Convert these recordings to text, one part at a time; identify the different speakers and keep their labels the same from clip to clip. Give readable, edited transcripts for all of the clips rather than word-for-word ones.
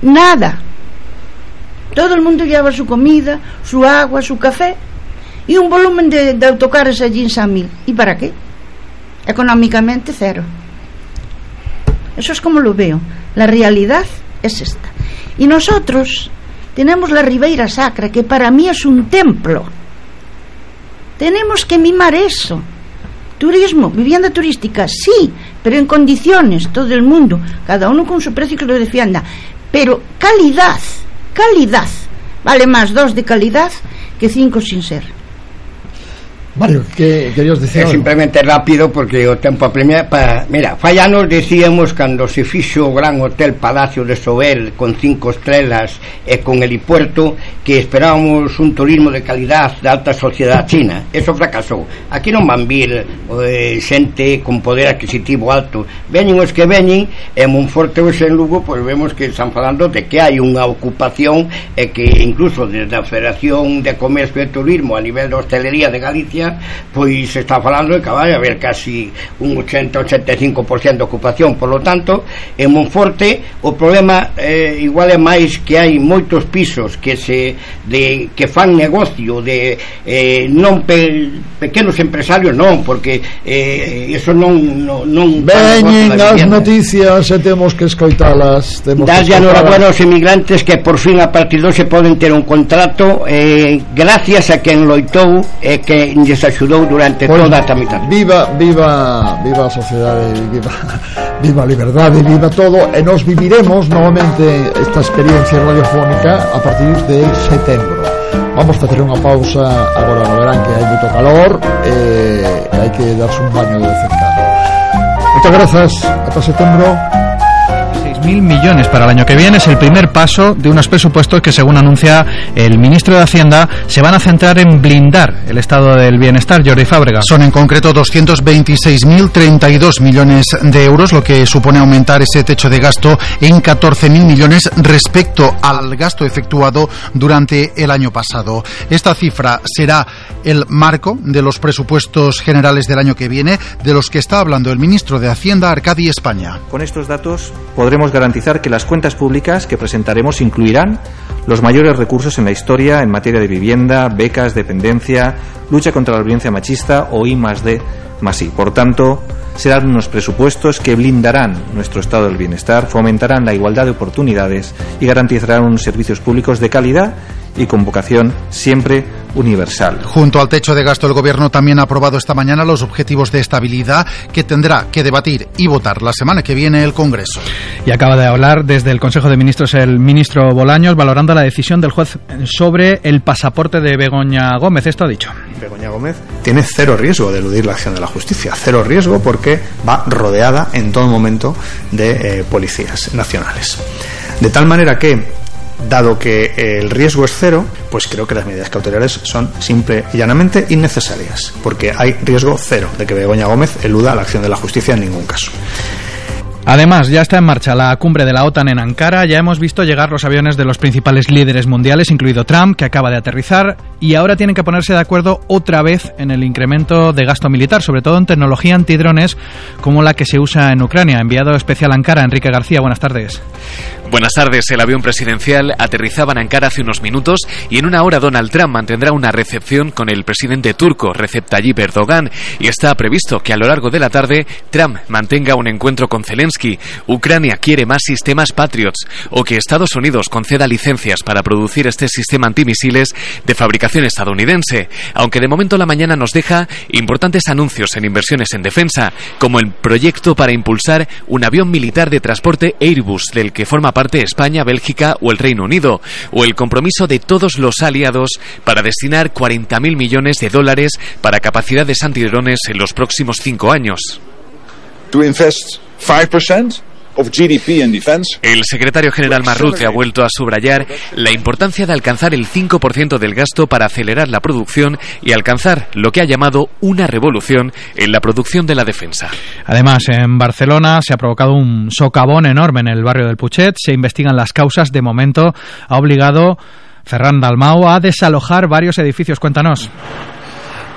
Speaker 1: tenían nada. Todo el mundo llevaba su comida, su agua, su café y un volumen de autocares allí en San Mil. ¿Y para qué? Económicamente cero. Eso es como lo veo. La realidad es esta. Y nosotros tenemos la Ribeira Sacra, que para mí es un templo. Tenemos que mimar eso. Turismo, vivienda turística, sí, pero en condiciones, todo el mundo, cada uno con su precio que lo defienda. Pero calidad. Vale más 2 de calidad que 5 sin ser.
Speaker 2: Mario, ¿qué querías decir?
Speaker 3: Simplemente rápido, porque o tempo apremia mira, fallanos decíamos cando se fixo o gran hotel Palacio de Sober con 5 estrelas e con helipuerto que esperábamos un turismo de calidad de alta sociedade china. Eso fracasou. Aquí non van vir xente con poder adquisitivo alto. Veñen os que veñen, e Monforte ou en Lugo, pois vemos que están falando de que hai unha ocupación e que incluso desde a Federación de Comercio e Turismo a nivel de hostelería de Galicia pois se está falando de que vai haber casi un 80-85% de ocupación. Por lo tanto, en Monforte o problema igual é máis que hai moitos pisos que que fan negocio de non pequenos empresarios, non, porque eso non
Speaker 2: veñen as noticias e temos que escoitalas.
Speaker 3: Darlle enhorabuena aos emigrantes que por fin a partir de hoxe poden ter un contrato gracias a quen loitou e que lles axudou durante toda a tramitación.
Speaker 2: Viva a sociedade, viva a liberdade, viva todo, e nos viviremos novamente esta experiencia radiofónica a partir de setembro. Vamos a facer unha pausa agora no verán que hai moito calor e hai que darse un baño de vez en cando. Muchas gracias, hasta setembro.
Speaker 4: 6.000 millones para el año que viene es el primer paso de unos presupuestos que, según anuncia el ministro de Hacienda, se van a centrar en blindar el estado del bienestar. Jordi Fábrega.
Speaker 5: Son en concreto 226.032 millones de euros, lo que supone aumentar ese techo de gasto en 14.000 millones respecto al gasto efectuado durante el año pasado. Esta cifra será el marco de los presupuestos generales del año que viene, de los que está hablando el ministro de Hacienda, Arcadi España.
Speaker 6: Con estos datos podremos garantizar que las cuentas públicas que presentaremos incluirán los mayores recursos en la historia en materia de vivienda, becas, dependencia, lucha contra la violencia machista o I+D+I. Por tanto, serán unos presupuestos que blindarán nuestro estado del bienestar, fomentarán la igualdad de oportunidades y garantizarán unos servicios públicos de calidad y con vocación siempre universal.
Speaker 5: Junto al techo de gasto, el Gobierno también ha aprobado esta mañana los objetivos de estabilidad que tendrá que debatir y votar la semana que viene el Congreso.
Speaker 4: Y acaba de hablar desde el Consejo de Ministros el ministro Bolaños, valorando la decisión del juez sobre el pasaporte de Begoña Gómez. Esto ha dicho.
Speaker 7: Begoña Gómez tiene cero riesgo de eludir la acción de la justicia, cero riesgo porque va rodeada en todo momento de policías nacionales. De tal manera que, dado que el riesgo es cero, pues creo que las medidas cautelares son simple y llanamente innecesarias, porque hay riesgo cero de que Begoña Gómez eluda la acción de la justicia en ningún caso.
Speaker 4: Además, ya está en marcha la cumbre de la OTAN en Ankara. Ya hemos visto llegar los aviones de los principales líderes mundiales, incluido Trump, que acaba de aterrizar, y ahora tienen que ponerse de acuerdo otra vez en el incremento de gasto militar, sobre todo en tecnología antidrones como la que se usa en Ucrania. Enviado especial a Ankara, Enrique García, buenas tardes.
Speaker 8: Buenas tardes. El avión presidencial aterrizaba en Ankara hace unos minutos y en una hora Donald Trump mantendrá una recepción con el presidente turco Recep Tayyip Erdogan, y está previsto que a lo largo de la tarde Trump mantenga un encuentro con Zelensky. Ucrania quiere más sistemas Patriots, o que Estados Unidos conceda licencias para producir este sistema antimisiles de fabricación estadounidense, aunque de momento la mañana nos deja importantes anuncios en inversiones en defensa, como el proyecto para impulsar un avión militar de transporte Airbus, del que forma parte España, Bélgica o el Reino Unido, o el compromiso de todos los aliados para destinar 40.000 millones de dólares para capacidades antidrones en los próximos 5 años.
Speaker 9: To invest 5% of GDP in defense.
Speaker 8: El secretario general Marrute ha vuelto a subrayar la importancia de alcanzar el 5% del gasto para acelerar la producción y alcanzar lo que ha llamado una revolución en la producción de la defensa.
Speaker 4: Además, en Barcelona se ha provocado un socavón enorme en el barrio del Putxet. Se investigan las causas. De momento ha obligado Ferran Dalmau a desalojar varios edificios. Cuéntanos.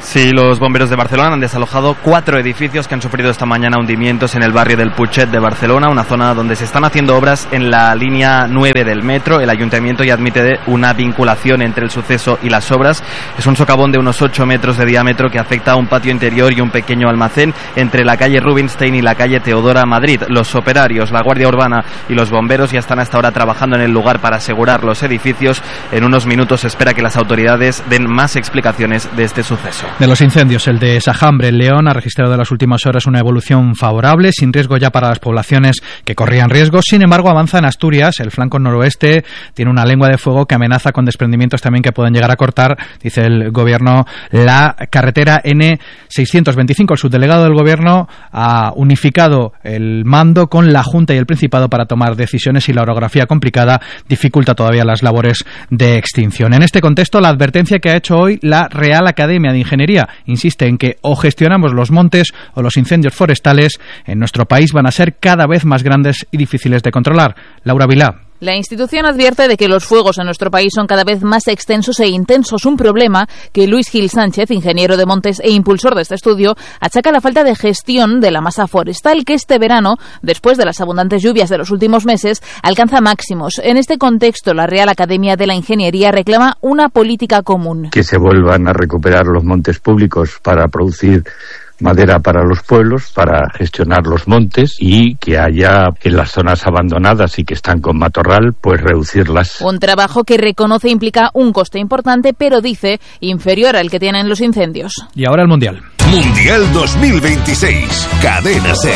Speaker 10: Sí, los bomberos de Barcelona han desalojado 4 edificios que han sufrido esta mañana hundimientos en el barrio del Putxet de Barcelona, una zona donde se están haciendo obras en la línea 9 del metro. El ayuntamiento ya admite una vinculación entre el suceso y las obras. Es un socavón de unos 8 metros de diámetro que afecta a un patio interior y un pequeño almacén entre la calle Rubinstein y la calle Teodora Madrid. Los operarios, la Guardia Urbana y los bomberos ya están hasta ahora trabajando en el lugar para asegurar los edificios. En unos minutos se espera que las autoridades den más explicaciones de este suceso.
Speaker 4: De los incendios, el de Sajambre, en León, ha registrado en las últimas horas una evolución favorable, sin riesgo ya para las poblaciones que corrían riesgo. Sin embargo, avanza en Asturias. El flanco noroeste tiene una lengua de fuego que amenaza con desprendimientos también que pueden llegar a cortar, dice el gobierno, la carretera N625. El subdelegado del gobierno ha unificado el mando con la Junta y el Principado para tomar decisiones, y la orografía complicada dificulta todavía las labores de extinción. En este contexto, la advertencia que ha hecho hoy la Real Academia de Ingeniería insiste en que o gestionamos los montes o los incendios forestales en nuestro país van a ser cada vez más grandes y difíciles de controlar. Laura Vilá.
Speaker 11: La institución advierte de que los fuegos en nuestro país son cada vez más extensos e intensos, un problema que Luis Gil Sánchez, ingeniero de montes e impulsor de este estudio, achaca a la falta de gestión de la masa forestal, que este verano, después de las abundantes lluvias de los últimos meses, alcanza máximos. En este contexto, la Real Academia de la Ingeniería reclama una política común.
Speaker 12: Que se vuelvan a recuperar los montes públicos para producir madera para los pueblos, para gestionar los montes, y que haya en las zonas abandonadas y que están con matorral, pues reducirlas.
Speaker 11: Un trabajo que reconoce implica un coste importante, pero dice inferior al que tienen los incendios.
Speaker 4: Y ahora el Mundial.
Speaker 13: Mundial 2026, Cadena SER.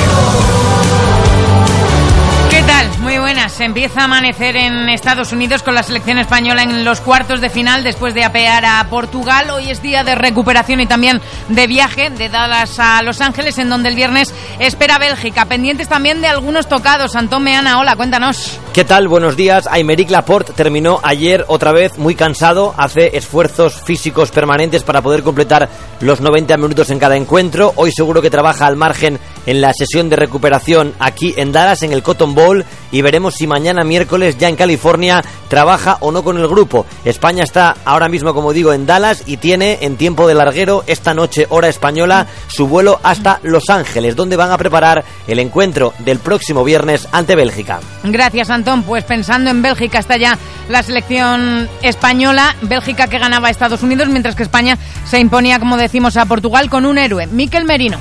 Speaker 14: ¿Qué tal? Muy buenas. Empieza a amanecer en Estados Unidos con la selección española en los cuartos de final después de apear a Portugal. Hoy es día de recuperación y también de viaje de Dallas a Los Ángeles, en donde el viernes espera Bélgica. Pendientes también de algunos tocados. Antón Meana, hola, cuéntanos.
Speaker 15: ¿Qué tal? Buenos días. Aymeric Laporte terminó ayer otra vez muy cansado. Hace esfuerzos físicos permanentes para poder completar los 90 minutos en cada encuentro. Hoy seguro que trabaja al margen en la sesión de recuperación aquí en Dallas, en el Cotton Bowl, y veremos si mañana miércoles ya en California trabaja o no con el grupo. España está ahora mismo, como digo, en Dallas y tiene en tiempo de larguero esta noche, hora española, su vuelo hasta Los Ángeles, donde van a preparar el encuentro del próximo viernes ante Bélgica.
Speaker 14: Gracias, Antón. Pues pensando en Bélgica está ya la selección española. Bélgica que ganaba a Estados Unidos, mientras que España se imponía, como decimos, a Portugal con un héroe, Mikel Merino.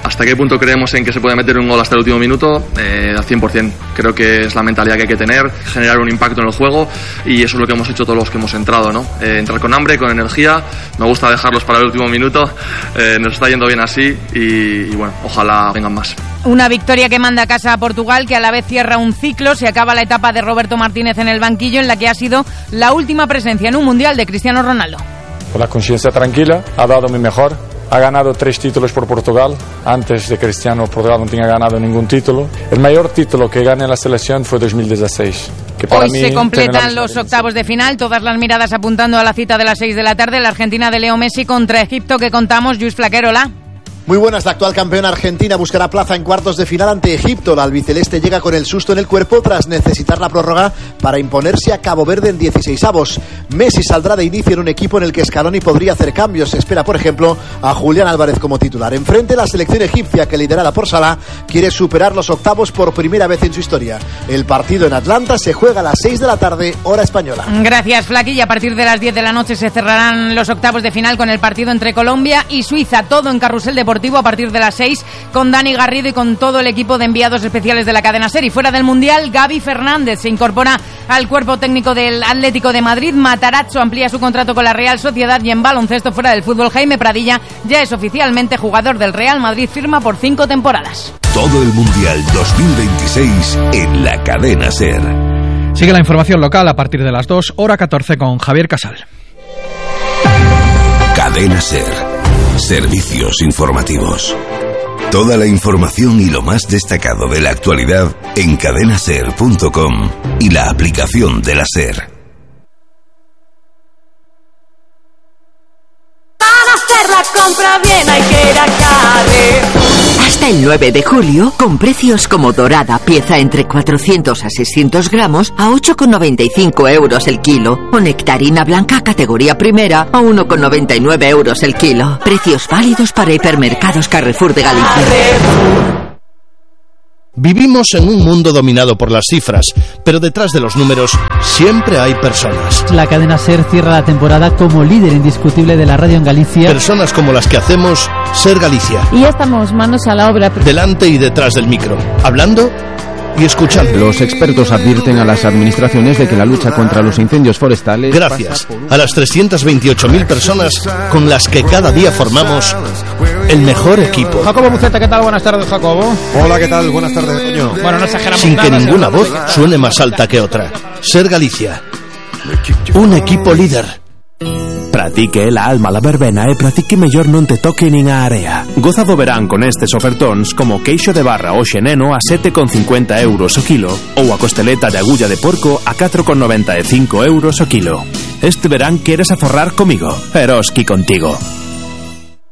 Speaker 16: ¿Hasta qué punto creemos en que se puede meter un gol hasta el último minuto? Al 100%. Creo que es la mentalidad que hay que tener, generar un impacto en el juego, y eso es lo que hemos hecho todos los que hemos entrado, ¿no? Entrar con hambre, con energía. Me gusta dejarlos para el último minuto. Nos está yendo bien así y bueno, ojalá vengan más.
Speaker 14: Una victoria que manda a casa a Portugal, que a la vez cierra un ciclo. Se acaba la etapa de Roberto Martínez en el banquillo, en la que ha sido la última presencia en un Mundial de Cristiano Ronaldo.
Speaker 17: Con la conciencia tranquila, ha dado mi mejor. Ha ganado 3 títulos por Portugal. Antes de Cristiano, Portugal no tenía ganado ningún título. El mayor título que gané en la selección fue 2016. Que para
Speaker 14: Hoy
Speaker 17: mí
Speaker 14: se completan los octavos de final, todas las miradas apuntando a la cita de las 6 de la tarde, la Argentina de Leo Messi contra Egipto, que contamos. Luis Flaquero, hola.
Speaker 18: Muy buenas, la actual campeona argentina buscará plaza en cuartos de final ante Egipto. La albiceleste llega con el susto en el cuerpo tras necesitar la prórroga para imponerse a Cabo Verde en 16avos. Messi saldrá de inicio en un equipo en el que Scaloni podría hacer cambios. Se espera, por ejemplo, a Julián Álvarez como titular. Enfrente, la selección egipcia, que liderada por Salah, quiere superar los octavos por primera vez en su historia. El partido en Atlanta se juega a las 6 de la tarde, hora española.
Speaker 14: Gracias, Flaqui. Y a partir de las 10 de la noche se cerrarán los octavos de final con el partido entre Colombia y Suiza. Todo en Carrusel Deportivo a partir de las 6, con Dani Garrido y con todo el equipo de enviados especiales de la cadena SER. Y fuera del Mundial, Gaby Fernández se incorpora al cuerpo técnico del Atlético de Madrid. Matarazzo amplía su contrato con la Real Sociedad, y en baloncesto, fuera del fútbol, Jaime Pradilla ya es oficialmente jugador del Real Madrid, firma por 5 temporadas.
Speaker 13: Todo el Mundial 2026 en la cadena SER.
Speaker 4: Sigue la información local a partir de las 2, hora 14, con Javier Casal.
Speaker 13: Cadena SER. Servicios informativos. Toda la información y lo más destacado de la actualidad en cadenaser.com y la aplicación de la SER.
Speaker 19: Para hacer la compra bien hay que ir a Carrefour. Hasta el 9 de julio, con precios como dorada, pieza entre 400 a 600 gramos, a 8,95 euros el kilo. O nectarina blanca categoría primera, a 1,99 euros el kilo. Precios válidos para hipermercados Carrefour de Galicia.
Speaker 20: Vivimos en un mundo dominado por las cifras, pero detrás de los números siempre hay personas.
Speaker 21: La cadena SER cierra la temporada como líder indiscutible de la radio en Galicia.
Speaker 20: Personas como las que hacemos SER Galicia.
Speaker 22: Y ya estamos manos a la obra.
Speaker 20: Delante y detrás del micro, hablando y escuchando.
Speaker 23: Los expertos advierten a las administraciones de que la lucha contra los incendios forestales...
Speaker 20: Gracias a las 328.000 personas con las que cada día formamos el mejor equipo.
Speaker 4: Jacobo Buceta, ¿qué tal? Buenas tardes, Jacobo.
Speaker 24: Hola, ¿qué tal? Buenas tardes, Toño.
Speaker 4: Bueno, no exageramos
Speaker 20: Sin
Speaker 4: nada,
Speaker 20: que ninguna voz suene más alta que otra. SER Galicia. Un equipo líder.
Speaker 25: Pratique la alma la verbena e pratique mellor non te toque nin a area. Goza do verán con estes ofertóns como queixo de barra o xeneno a 7,50 euros o kilo ou a costeleta de agulla de porco a 4,95 euros o kilo. Este verán queres aforrar comigo, Eroski contigo.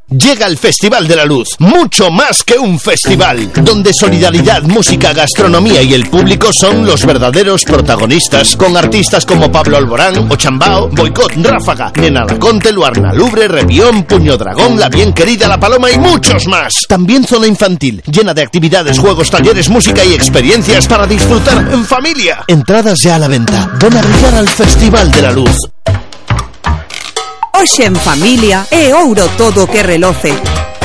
Speaker 20: Llega el Festival de la Luz, mucho más que un festival, donde solidaridad, música, gastronomía y el público son los verdaderos protagonistas, con artistas como Pablo Alborán, Ochambao, Boicot, Ráfaga, Nena Laconte, Luarna Lubre, Revión, Puño Dragón, La Bien Querida, La Paloma y muchos más. También zona infantil, llena de actividades, juegos, talleres, música y experiencias para disfrutar en familia. Entradas ya a la venta. Ven a brillar al Festival de la Luz.
Speaker 26: Hoxe en familia é ouro todo o que reloce.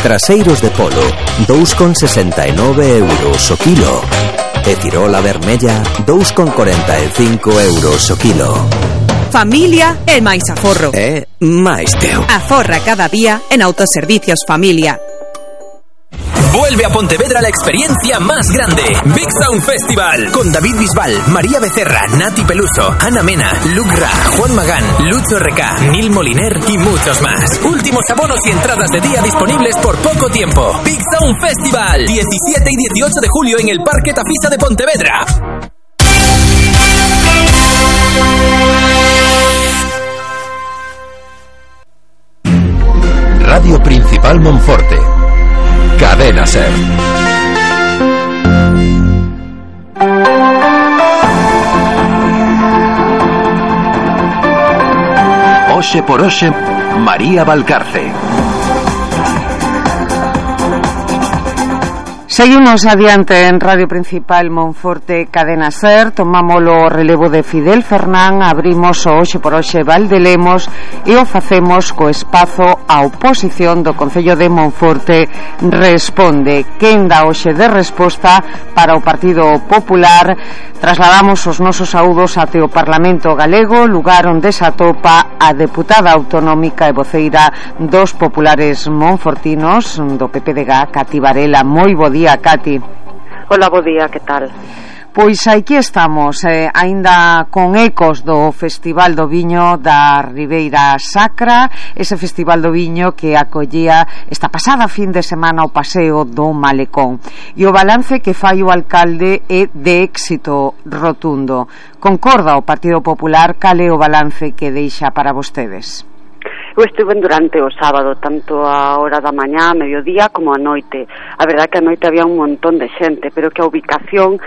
Speaker 27: Traseiros de polo, 2,69 euros o kilo. E cirola vermella, 2,45 euros o kilo.
Speaker 26: Familia é máis aforro.
Speaker 27: É máis teu.
Speaker 26: Aforra cada día en Autoservicios Familia.
Speaker 28: Vuelve a Pontevedra la experiencia más grande, Big Sound Festival, con David Bisbal, María Becerra, Nati Peluso, Ana Mena, Luke Ra, Juan Magán, Lucho RK, Nil Moliner y muchos más. Últimos abonos y entradas de día disponibles por poco tiempo. Big Sound Festival, 17 y 18 de julio en el Parque Tafisa de Pontevedra.
Speaker 13: Radio Principal Monforte. Cadena SER. Oxe por Oxe, María Valcarce.
Speaker 29: Seguimos adiante en Radio Principal Monforte, Cadena SER. Tomamos o relevo de Fidel Fernán, abrimos o Oxe por Oxe Valdelemos e o facemos co espazo a oposición do Concello de Monforte responde. Quen dá hoxe de resposta para o Partido Popular? Trasladamos os nosos saúdos até o Parlamento Galego, lugar onde se atopa a deputada autonómica e voceira dos populares monfortinos do PPDG, Cati Varela. Moi bo día, Cati.
Speaker 30: Hola, bo día, que tal?
Speaker 29: Pois aquí estamos, aínda con ecos do Festival do Viño da Ribeira Sacra, ese Festival do Viño que acollía esta pasada fin de semana o paseo do Malecón. E o balance que fai o alcalde é de éxito rotundo. Concorda o Partido Popular? Cal é o balance que deixa para vostedes?
Speaker 30: Eu estuve durante o sábado, tanto a hora da mañá, a mediodía, como a noite. A verdade que a noite había un montón de xente, pero que a ubicación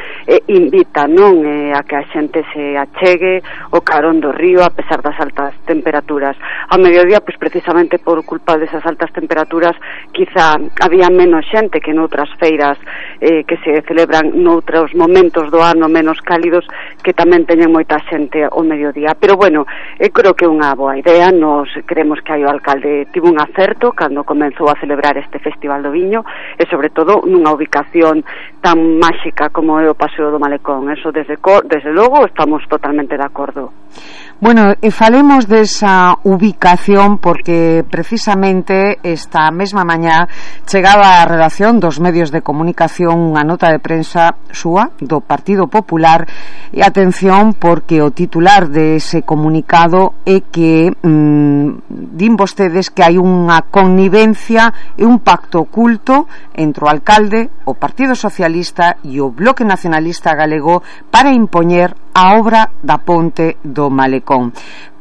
Speaker 30: invita, non? A que a xente se achegue o carón do río, a pesar das altas temperaturas. A mediodía, pois precisamente por culpa desas altas temperaturas, quizá había menos xente que noutras feiras que se celebran noutros momentos do ano menos cálidos, que tamén teñen moita xente ao mediodía. Pero bueno, creo que é unha boa idea, nos queremos que aí o alcalde tivo un acerto cando comenzou a celebrar este Festival do Viño e sobre todo nunha ubicación tan máxica como é o Paseo do Malecón. Eso desde logo estamos totalmente de acordo.
Speaker 29: Bueno, e falemos desa ubicación porque precisamente esta mesma mañá chegaba a redacción dos medios de comunicación unha nota de prensa súa do Partido Popular e atención porque o titular dese comunicado é que din vostedes que hai unha connivencia e un pacto oculto entre o alcalde, o Partido Socialista e o Bloque Nacionalista Galego para impoñer a obra da ponte do Malecón.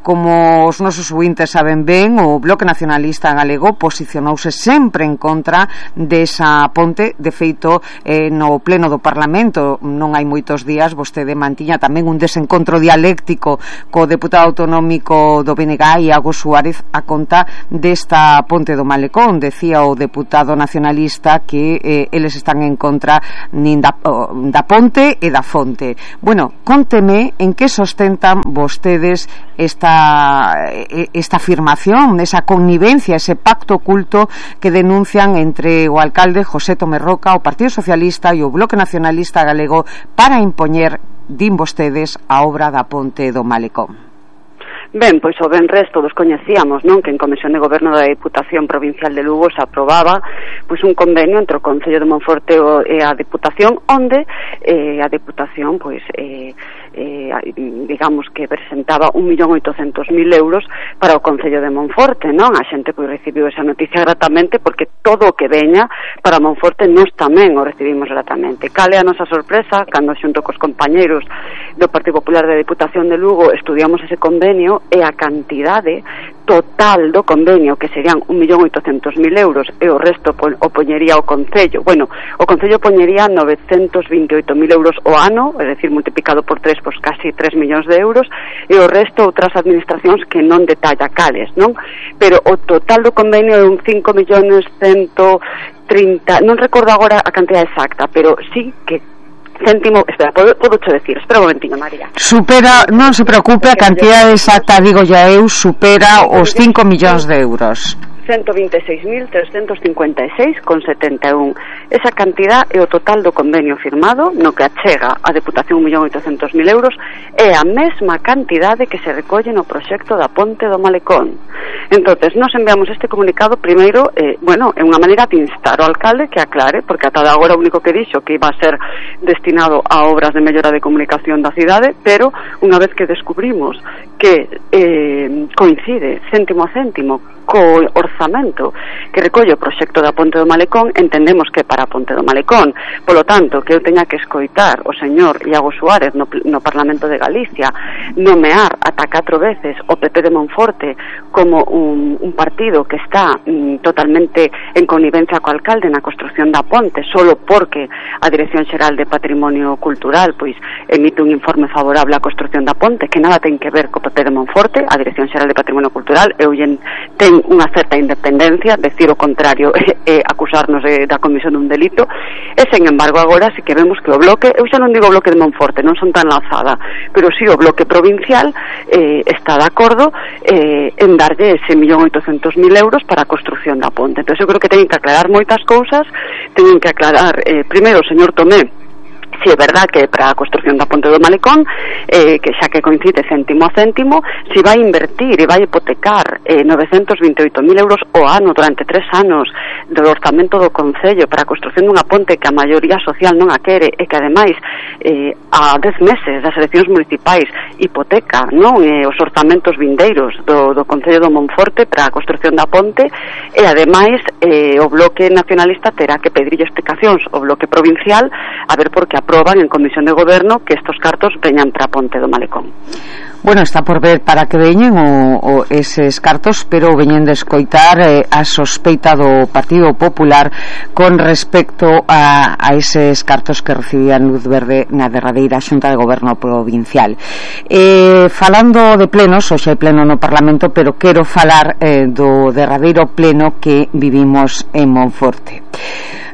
Speaker 29: Como os nosos ouvintes saben ben, o Bloque Nacionalista Galego posicionouse sempre en contra desa ponte. De feito, no pleno do Parlamento non hai moitos días vostede mantiña tamén un desencontro dialéctico co deputado autonómico do BNG, Iago Suárez, a conta desta ponte do Malecón. Decía o deputado nacionalista que eles están en contra nin da ponte e da fonte. Bueno, cónteme en que sostentan vostedes esta afirmación, esa connivencia, ese pacto oculto que denuncian entre o alcalde José Tomé Roca, o Partido Socialista e o Bloque Nacionalista Galego para impoñer, din vostedes, a obra da ponte do Malecón.
Speaker 30: Ben, pois o venres todos coñecíamos, non, que en Comisión de Goberno da Diputación Provincial de Lugo se aprobaba pois un convenio entre o Concello de Monforte e a Diputación, onde a Diputación pois digamos que presentaba 1.800.000 euros para o Concello de Monforte, non? A xente pois recibiu esa noticia gratamente, porque todo o que veña para Monforte nós tamén o recibimos gratamente. Cal é a nosa sorpresa cando xunto cos compañeiros do Partido Popular da Diputación de Lugo estudiamos ese convenio e a cantidade total do convenio, que serían 1.800.000 euros, e o resto o poñería o Concello. Bueno, o Concello poñería 928.000 euros o ano, é dicir, multiplicado por 3, pois casi 3 millóns de euros, e o resto outras administracións que non detalla cales, non? Pero o total do convenio é un 5.130.000, non recordo agora a cantidad exacta, pero sí que céntimo, espera, podo che decir, espera un momentiño, María.
Speaker 29: Supera, non se preocupe, a cantidade exacta, digo ya eu, supera os 5 millóns de euros. 126.356,71. Esa cantidad é o total do convenio firmado, no que achega a Deputación 1.800.000 euros, é a mesma cantidade que se recolle no proxecto da ponte do Malecón. Entonces, nos enviamos este comunicado primeiro, bueno, é unha maneira de instar ao alcalde que aclare, porque ata agora o único que dixo que iba a ser destinado a obras de mellora de comunicación da cidade, pero unha vez que descubrimos que coincide céntimo a céntimo co orzamento que recolle o proxecto da ponte do Malecón, entendemos que para a ponte do Malecón. Polo tanto, que eu teña que escoitar o señor Iago Suárez no Parlamento de Galicia nomear ata 4 veces o PP de Monforte como un partido que está totalmente en connivencia co alcalde na construción da ponte, solo porque a Dirección Xeral de Patrimonio Cultural pois emite un informe favorable á construción da ponte, que nada ten que ver co PP de Monforte. A Dirección Xeral de Patrimonio Cultural ten unha certa independencia, decir o contrario é acusarnos da comisión dun delito, e sen embargo agora sí que vemos que o bloque, eu xa non digo o bloque de Monforte, non son tan lanzada, pero sí o bloque provincial está de acordo en darlle ese 1.800.000 euros para a construción da ponte. Entón eu creo que teñen que aclarar moitas cousas, teñen que aclarar primeiro o señor Tomé si é verdad que para a construción da ponte do Malecón, que xa que coincide céntimo a céntimo, si vai invertir e vai hipotecar 928.000 euros o ano durante 3 anos do orzamento do Concello para a construción dunha ponte que a maioría social non a quere, e que ademais a 10 meses das eleccións municipais hipoteca, non, os orzamentos vindeiros do Concello do Monforte para a construción da ponte, e ademais o Bloque Nacionalista terá que pedirlle explicacións ao Bloque Provincial a ver por que aproban en Comisión de Goberno que estos cartos veñan para a ponte do Malecón. Bueno, está por ver para que veñen eses cartos, pero veñen de escoitar a sospeita do Partido Popular con respecto a eses cartos que recibían luz verde na derradeira Xunta de Goberno Provincial. Falando de plenos, hoxe hai pleno no Parlamento, pero quero falar do derradeiro pleno que vivimos en Monforte.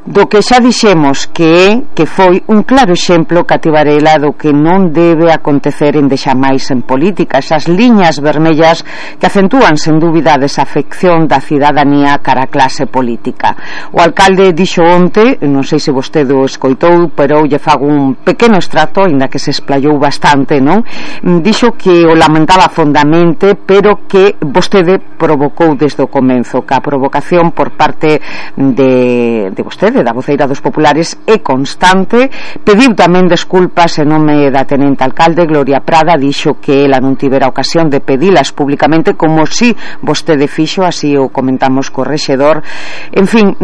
Speaker 29: Do que xa dixemos que foi un claro exemplo, Cati Varela, do que non debe acontecer en deixamais en política, esas liñas vermellas que acentúan sen dúbida a desafección da cidadanía cara a clase política. O alcalde dixo onte, non sei se vostede o escoitou, pero lle fago un pequeno extracto, ainda que se explayou bastante, non? Dixo que o lamentaba fondamente, pero que vostede provocou desde o comenzo, que a provocación por parte de vostede, alcalde, da voceira dos populares, é constante. Pediu tamén desculpas en nome da tenente alcalde. Gloria Prada dixo que ela non tivera ocasión de pedilas públicamente, como si vostede fixo, así o comentamos co rexedor. En fin,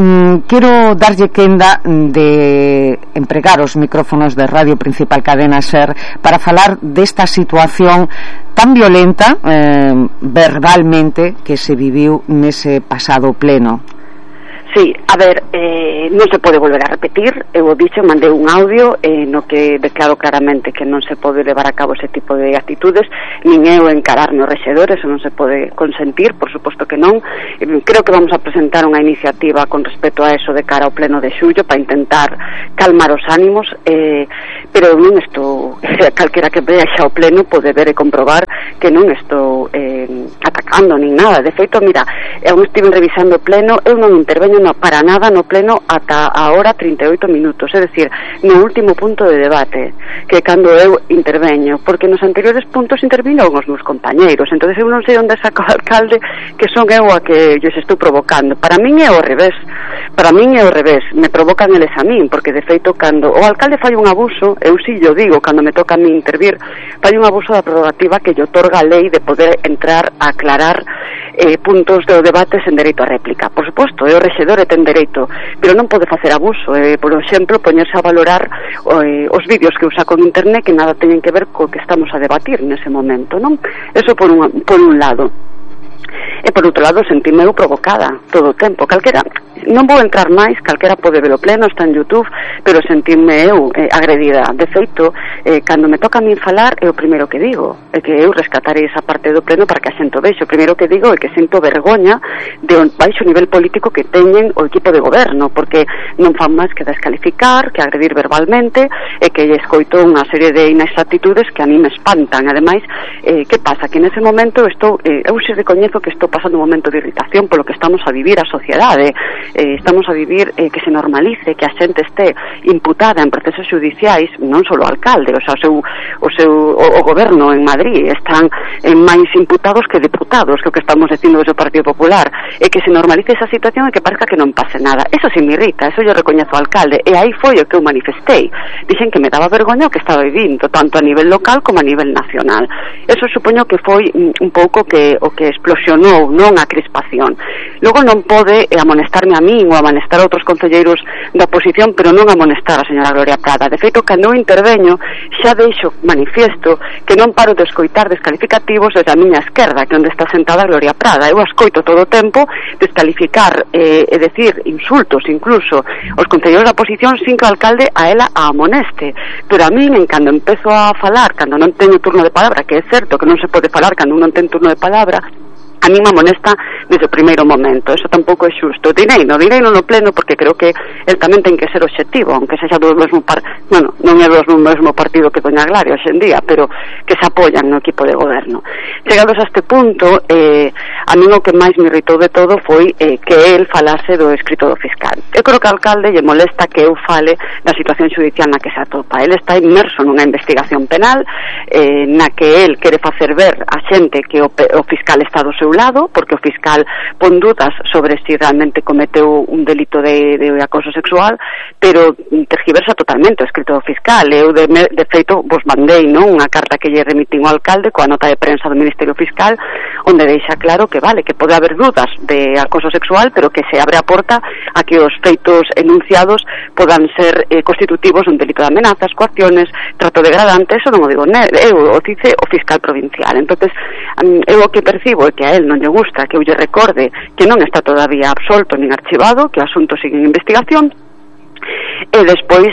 Speaker 29: quero darlle quenda de empregar os micrófonos de Radio Principal Cadena SER para falar desta situación tan violenta verbalmente que se viviu nese pasado pleno.
Speaker 30: Sí, a ver, non se pode volver a repetir. Eu o dixo, mandei un audio no que declaro claramente que non se pode levar a cabo ese tipo de actitudes, nin eu encararme os rexedores, eso non se pode consentir, por suposto que non. Creo que vamos a presentar unha iniciativa con respecto a eso de cara ao pleno de xullo para intentar calmar os ánimos, pero eu non estou, calquera que vea xa o pleno pode ver e comprobar que non estou atacando nin nada. De feito, mira, eu estive revisando o pleno, eu non interveño para nada no pleno ata a hora 38 minutos, é dicir, no último punto de debate, que cando eu interveño, porque nos anteriores puntos intervinon os meus compañeiros, entonces eu non sei onde saca o alcalde que son eu a que lles estou provocando. Para min é ao revés, me provocan eles a min, porque de feito cando o alcalde fai un abuso, eu si yo digo, cando me toca a mí intervir, fai un abuso da prerrogativa que lle otorga a lei de poder entrar a aclarar puntos do debate sen dereito a réplica. Por suposto, é o rexedor e ten dereito, pero non pode facer abuso, por exemplo, poñerse a valorar os vídeos que eu saco en internet que nada teñen que ver co que estamos a debatir nese momento, non? Eso por un lado. E por outro lado, sentime eu provocada todo o tempo. Calquera, non vou entrar máis, calquera pode ver o pleno, está en YouTube, pero sentime eu agredida. De feito, cando me toca a min falar, é o primeiro que digo, é que eu rescatarei esa parte do pleno para que a xente o vexe. O primeiro que digo é que sinto vergoña de baixo nivel político que teñen o equipo de goberno, porque non fan máis que descalificar, que agredir verbalmente, e que escoito unha serie de inexactitudes que a mí me espantan. Ademais, que pasa? Que nese momento eu se recoñezo que estou pasando un momento de irritación polo que estamos a vivir a sociedade. Estamos a vivir que se normalice que a xente este imputada en procesos judiciais, non só o alcalde, o sea, o goberno en Madrid están máis imputados que deputados, que o que estamos dicindo desde o Partido Popular, e que se normalice esa situación e que parezca que non pase nada. Eso sí me irrita, eso yo recoñezo ao alcalde, e aí foi o que eu manifestei. Dixen que me daba vergoña o que estaba vivindo, tanto a nivel local como a nivel nacional. Eso supoño que foi un pouco o que explosionou, non a crispación. Logo non pode amonestarme a min ou amonestar a outros concelleiros da oposición, pero non amonestar a señora Gloria Prada. De feito, cando eu interveño, xa deixo manifiesto que non paro de escoitar descalificativos desde a miña esquerda, que onde está sentada Gloria Prada. Eu escoito todo o tempo descalificar e decir insultos incluso os concelleiros da oposición sin que o alcalde a ela a amoneste. Pero a min, cando empezo a falar, cando non teño turno de palabra, que é certo que non se pode falar cando non ten turno de palabra, a mí me amonesta desde o primeiro momento. Eso tampouco é xusto. Direi no pleno, porque creo que el tamén ten que ser obxectivo, aunque sexa do mesmo non é do mesmo partido que doña Glaria hoxe en día, pero que se apoyan no equipo de goberno. Chegados a este punto, a mí o que máis me irritou de todo foi que el falase do escrito do fiscal. Eu creo que ao alcalde lle molesta que eu fale da situación judicial na que se atopa. El está inmerso nunha investigación penal na que el quere facer ver a xente que o fiscal está do seu lado, porque o fiscal pon dudas sobre si realmente cometeu un delito de acoso sexual, pero tergiversa totalmente o escrito do fiscal. Eu de feito vos mandei unha carta que lle remitín ao alcalde coa nota de prensa do Ministerio Fiscal, onde deixa claro que vale, que pode haber dudas de acoso sexual, pero que se abre a porta a que os feitos enunciados podan ser constitutivos dun delito de amenazas, coacciones, trato degradante. Eso non o digo eu, o dice o fiscal provincial. Entonces, eu o que percibo é que a él non lle gusta que eu lle recorde que non está todavía absolto nin archivado, que o asunto sigue en investigación, e despois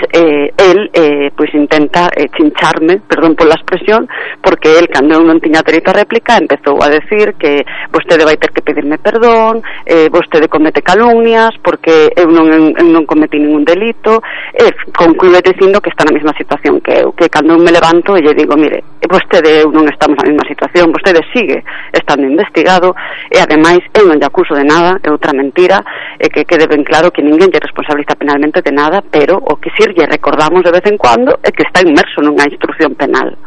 Speaker 30: pois intenta chincharme, perdón pola expresión, porque el, cando eu non tiña dereito a réplica, empezou a decir que vostede vai ter que pedirme perdón, vostede comete calumnias porque eu non cometi ningún delito, e conclúe dicindo que está na mesma situación que eu, que cando eu me levanto e lle digo, mire, vostede eu non estamos na mesma situación, vostede sigue estando investigado, e ademais eu non lle acuso de nada, é outra mentira, e que quede ben claro que ninguén lle responsabiliza penalmente de nada, pero o que si lle recordamos de vez en cuando é que está inmerso nunha instrucción penal.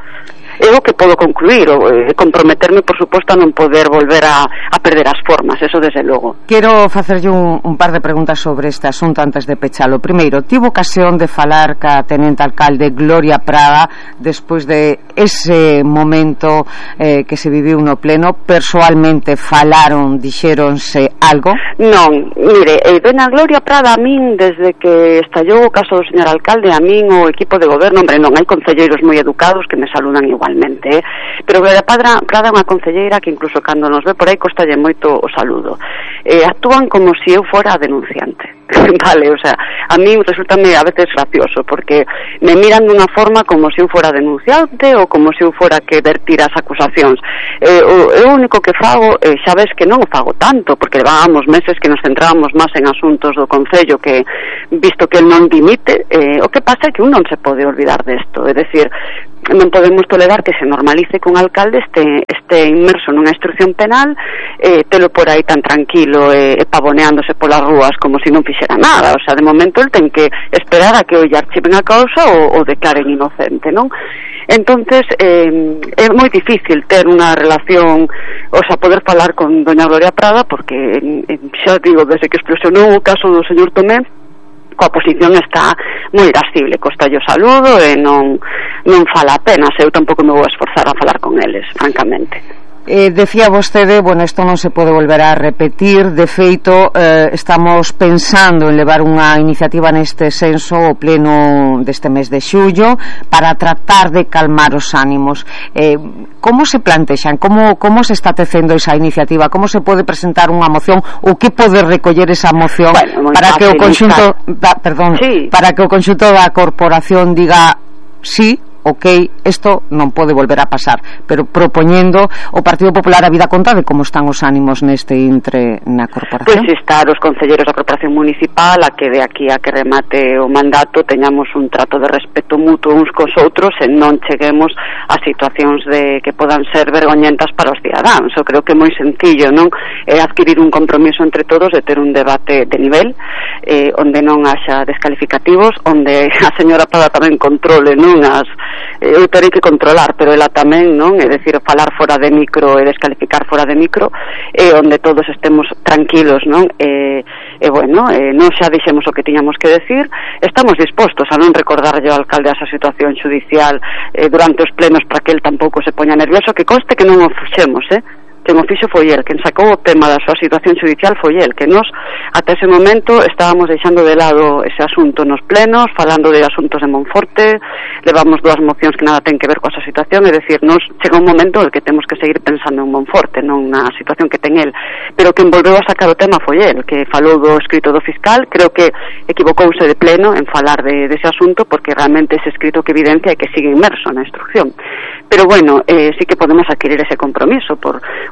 Speaker 30: É o que podo concluir, comprometerme, por suposto, a non poder volver a perder as formas, eso desde logo.
Speaker 29: Quero facerlle un par de preguntas sobre este asunto antes de pechalo. Primeiro, tivo ocasión de falar ca tenente alcalde Gloria Prada despois de ese momento que se viviu no pleno? Persoalmente falaron, dixéronse algo?
Speaker 30: Non, mire, doña Gloria Prada, a min, desde que estallou o caso do señor alcalde, a min o equipo de goberno, hombre, non, hai concelleiros moi educados que me saludan igualmente, pero Gloria Prada é unha concelleira que incluso cando nos ve por aí costalle moito o saludo. Actúan como se eu fora a denunciante. Vale, o sea, a mí resultame a veces gracioso porque me miran dunha forma como se eu fora denunciante ou como se eu fora que vertir as acusacións. O único que fago, xa ves que non o fago tanto, porque levábamos meses que nos centrábamos máis en asuntos do Concello, que visto que el non dimite, o que pasa é que un non se pode olvidar desto, é dicir, non podemos tolerar que se normalice que un alcalde este inmerso nunha instrucción penal, telo por aí tan tranquilo e pavoneándose polas rúas como se non fixera nada. O sea, de momento el ten que esperar a que o lle archiven a causa ou declaren inocente, non? Entonces é moi difícil ter unha relación, o sea, poder falar con doña Gloria Prada, porque xa digo, desde que explosionou o caso do señor Tomé, coa posición está moi irascible, costalle o saludo e non fala apenas. Eu tampouco me vou esforzar a falar con eles, francamente.
Speaker 29: Decía vostede, bueno, isto non se pode volver a repetir. De feito, estamos pensando en levar unha iniciativa neste senso o pleno deste mes de xullo para tratar de calmar os ánimos. Como se plantexan? Como se está tecendo esa iniciativa? Como se pode presentar unha moción? O que pode recoller esa moción para que o conxunto para que o conxunto da corporación diga sí, ok, isto non pode volver a pasar, pero propoñendo o Partido Popular a vida conta de como están os ánimos neste intre na corporación?
Speaker 30: Pois estar os concelleiros da corporación municipal a que de aquí a que remate o mandato teñamos un trato de respeto mutuo uns cos outros e non cheguemos a situacións de que podan ser vergoñentas para os cidadáns. Eu creo que é moi sencillo, non? É adquirir un compromiso entre todos de ter un debate de nivel, onde non haxa descalificativos, onde a señora Prada tamén controle, non, eu terei que controlar, pero ela tamén, non, é dicir, falar fora de micro e descalificar fora de micro, onde todos estemos tranquilos, non, bueno, non xa dixemos o que tiñamos que decir. Estamos dispostos a non recordarlle ao alcalde a esa situación judicial durante os plenos para que el tampouco se poña nervioso, que conste que non o fixemos, que o fixo foi el, quen sacou o tema da súa situación judicial foi el, que nos ata ese momento estábamos deixando de lado ese asunto nos plenos, falando de asuntos de Monforte, levamos 2 mocións que nada ten que ver coa súa situación, é dicir, nos chega un momento en que temos que seguir pensando en Monforte, non na situación que ten el, pero quen volveu a sacar o tema foi el, que falou do escrito do fiscal. Creo que equivocouse de pleno en falar dese asunto, porque realmente ese escrito que evidencia é que sigue inmerso na instrucción. Pero bueno, sí que podemos adquirir ese compromiso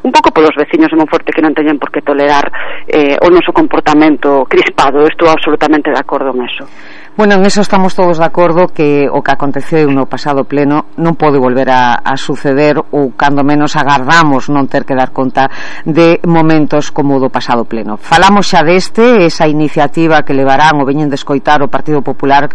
Speaker 30: un pouco polos veciños de Monforte que non teñen por que tolerar o noso comportamento crispado. Estou absolutamente de acordo en eso.
Speaker 29: Bueno, en eso estamos todos de acordo, que o que aconteceu no pasado pleno non pode volver a suceder, ou cando menos agardamos non ter que dar conta de momentos como o do pasado pleno. Falamos xa esa iniciativa que levarán ou veñen de escoitar o Partido Popular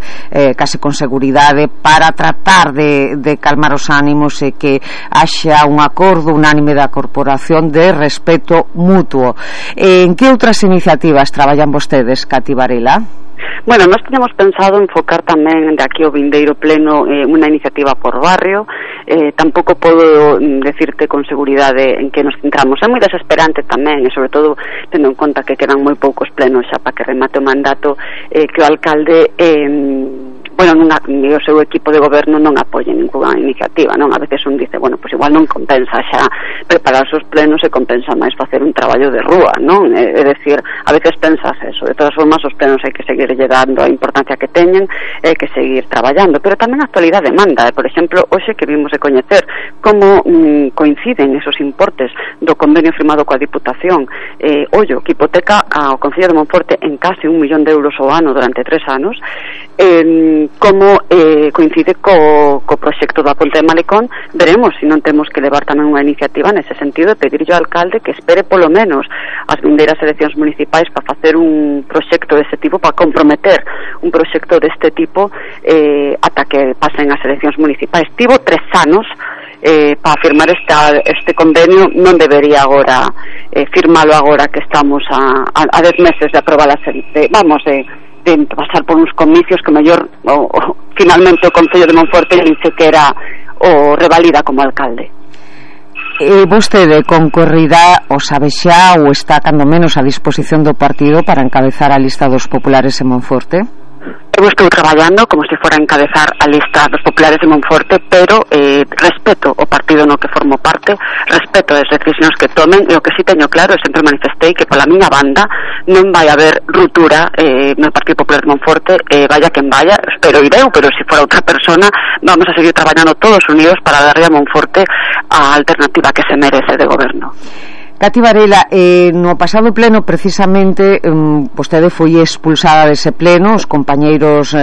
Speaker 29: case con seguridade para tratar de calmar os ánimos e que haxa un acordo unánime da corporación de respeto mutuo. En que outras iniciativas traballan vostedes, Cati Varela?
Speaker 30: Bueno, nós teñamos pensado enfocar tamén de aquí ao vindeiro pleno unha iniciativa por barrio. Tampouco podo decirte con seguridade en que nos centramos. É moi desesperante tamén, e sobre todo tendo en conta que quedan moi poucos plenos xa para que remate o mandato, que o alcalde bueno, o seu equipo de goberno non apoie ninguna iniciativa, non? A veces un dice, bueno, pues igual non compensa xa preparar os plenos e compensa máis facer un traballo de rúa, non? É dicir, a veces pensas eso. De todas formas, os plenos hai que seguirlle dando a importancia que teñen, hai que seguir traballando, pero tamén a actualidade manda. Por exemplo, hoxe que vimos de coñecer como coinciden esos importes do convenio firmado coa Diputación, ollo, que hipoteca ao Concello de Monforte en case 1 millón de euros ao ano durante 3 anos, como coincide co proxecto da Ponte de Malecón. Veremos se non temos que levar tamén unha iniciativa nese sentido de pedirlle ao alcalde que espere polo menos as vindeiras eleccións municipais para facer un proxecto deste tipo, para comprometer un proxecto deste tipo ata que pasen as eleccións municipais. Tivo 3 anos para firmar este convenio non debería agora firmalo agora que estamos a 10 meses de aprobar de pasar por uns comicios que mellor finalmente o Concello de Monforte nin sequera o revalida como alcalde.
Speaker 29: Vostede concorrida o sabe xa ou está cando menos a disposición do partido para encabezar a lista dos populares en Monforte?
Speaker 30: Eu estou traballando como se fora a encabezar a lista dos populares de Monforte, pero respeto o partido no que formo parte, respeto as decisións que tomen, e o que si teño claro, e sempre manifestei que pola miña banda non vai haber ruptura no Partido Popular de Monforte, vaya quen vaya, espero ireu, pero se fora outra persona vamos a seguir traballando todos unidos para darle a Monforte a alternativa que se merece de goberno.
Speaker 29: Cati Varela, no pasado pleno precisamente vostede foi expulsada dese pleno, os compañeiros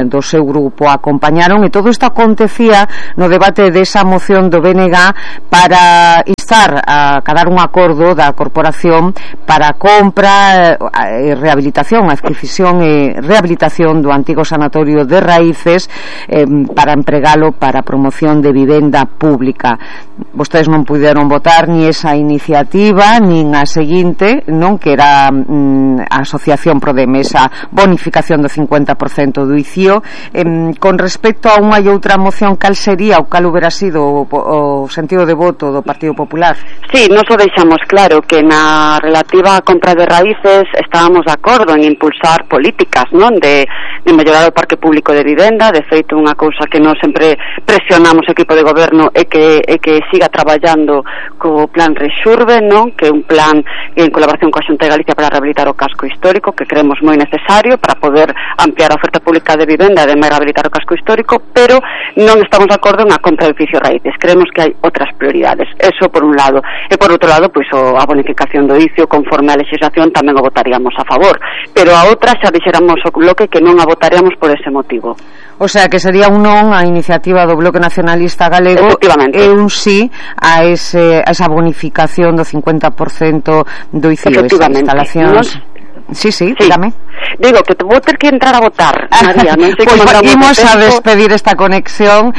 Speaker 29: do seu grupo acompañaron, e todo isto acontecía no debate desa moción do BNG para instar a cadar un acordo da corporación para a compra e rehabilitación, adquisición e rehabilitación do antigo sanatorio de Raíces para empregalo para a promoción de vivenda pública. Vostedes non puderon votar ni esa iniciativa nin a seguinte, non, que era a Asociación Prodem, esa bonificación do 50% do ICIO. Con respecto a unha e outra moción, cal sería ou cal hubiera sido o sentido de voto do Partido Popular?
Speaker 30: Sí, nos o deixamos claro que na relativa a compra de raíces estábamos de acordo en impulsar políticas, non, de mellorar o parque público de vivenda. De feito, unha cousa que nós sempre presionamos o equipo de goberno é que siga traballando co plan Rexurbe, non, que é un plan en colaboración coa Xunta de Galicia para rehabilitar o casco histórico, que creemos moi necesario para poder ampliar a oferta pública de vivenda e de rehabilitar o casco histórico, pero non estamos de acordo en a compra de edificios raíces. Creemos que hai outras prioridades, eso por un lado, e por outro lado, pois a bonificación do ICIO conforme a legislación tamén o votaríamos a favor, pero a outra xa dixéramos o bloque que non a votaríamos por ese motivo.
Speaker 29: O sea, que sería un non a iniciativa do Bloque Nacionalista Galego e un sí a esa bonificación do 50% do ICIO, esas instalacións. Sí, dígame.
Speaker 30: Digo que vou ter que entrar a votar, María, non sei como
Speaker 29: imos a despedir esta conexión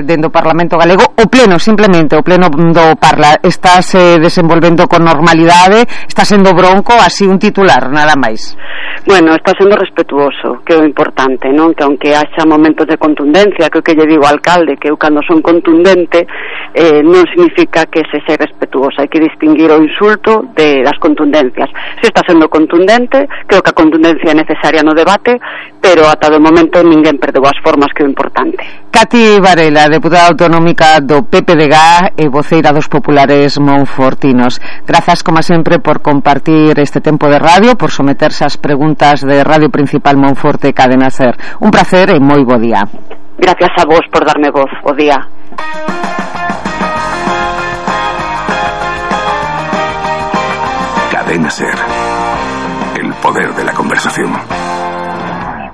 Speaker 29: dentro do Parlamento Galego. O pleno, simplemente, o pleno do Parla está se desenvolvendo con normalidade, está sendo bronco, así un titular, nada máis.
Speaker 30: Bueno, está sendo respetuoso, que é o importante, non? Que aunque haxa momentos de contundencia, que o que lle digo ao alcalde, que eu cando son contundente non significa que se sea respetuoso, hai que distinguir o insulto das contundencias. Se está sendo contundente, creo que a contundencia é necesaria no debate, pero ata do momento ninguén perdeu as formas, que é o importante.
Speaker 29: Cati Varela, deputada autonómica do PPDG e voceira dos populares monfortinos. Grazas, como sempre, por compartir este tempo de radio, por someterse ás preguntas de Radio Principal Monforte Cadena Ser. Un placer e moi bo día.
Speaker 30: Gracias a vos por darme voz. O día.
Speaker 13: Cadena Ser. El poder de la conversación.